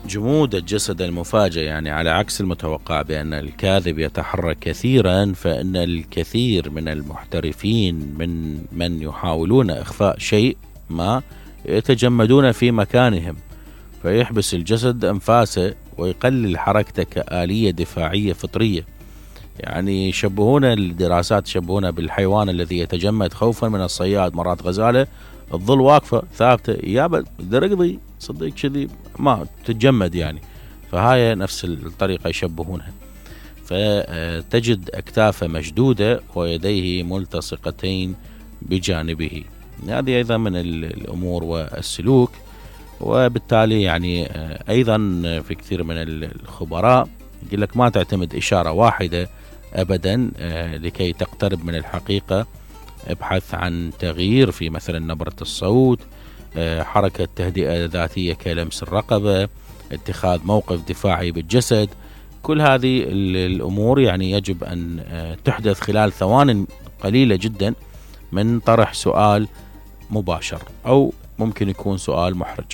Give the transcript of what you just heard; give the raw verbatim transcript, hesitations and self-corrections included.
جمود الجسد المفاجئ، يعني على عكس المتوقع بأن الكاذب يتحرك كثيرا، فإن الكثير من المحترفين من من يحاولون إخفاء شيء ما يتجمدون في مكانهم، فيحبس الجسد أنفاسه ويقلل حركته كآلية دفاعية فطرية. يعني يشبهون الدراسات يشبهون بالحيوان الذي يتجمد خوفا من الصياد. مرات غزالة تظل واقفة ثابتة، يابا درقضي صدق كذي ما تتجمد يعني، فهاي نفس الطريقة يشبهونها. فتجد أكتافه مشدودة ويديه ملتصقتين بجانبه. هذه أيضا من الأمور والسلوك. وبالتالي يعني أيضا في كثير من الخبراء يقول لك ما تعتمد إشارة واحدة أبدا لكي تقترب من الحقيقة. ابحث عن تغيير في مثلا نبرة الصوت، حركة تهدئة ذاتية كلمس الرقبة، اتخاذ موقف دفاعي بالجسد. كل هذه الأمور يعني يجب أن تحدث خلال ثوان قليلة جدا من طرح سؤال مباشر، أو ممكن يكون سؤال محرج.